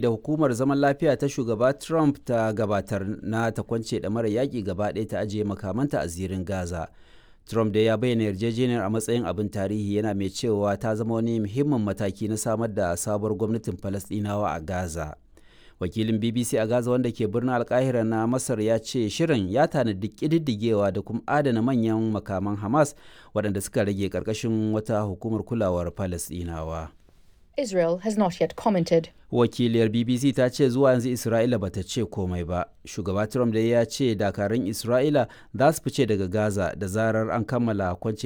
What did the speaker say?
Da hukumar zaman lafiya ta Shugaba Trump ta gabatar na ta kwance ɗamarar yaƙi gaba ɗaya ta ajiye makamanta a zirin Gaza. Trump dai ya bayyana yarjejeniyar a matsayin abin tarihi, yana mai cewa ta zama wani muhimmin mataki na samar da sabuwar gwamnatin Falasɗinawa a Gaza. Wakilin BBC a Gaza wanda ke birnin Alkahira na Masar ya ce shirin ya tanadi ƙididdigewa da kuma adana manyan makaman Hamas waɗanda suka rage ƙarƙashin wata hukumar kulawar Falasɗinawa. Israel has not yet commented. Wakiliyar BBC ta ce zuwa yanzu Isra'ila bata ce komai ba. Shugaba Trump dai ya ce dakarun Isra'ila za su fice daga Gaza da zarar an kammala kwance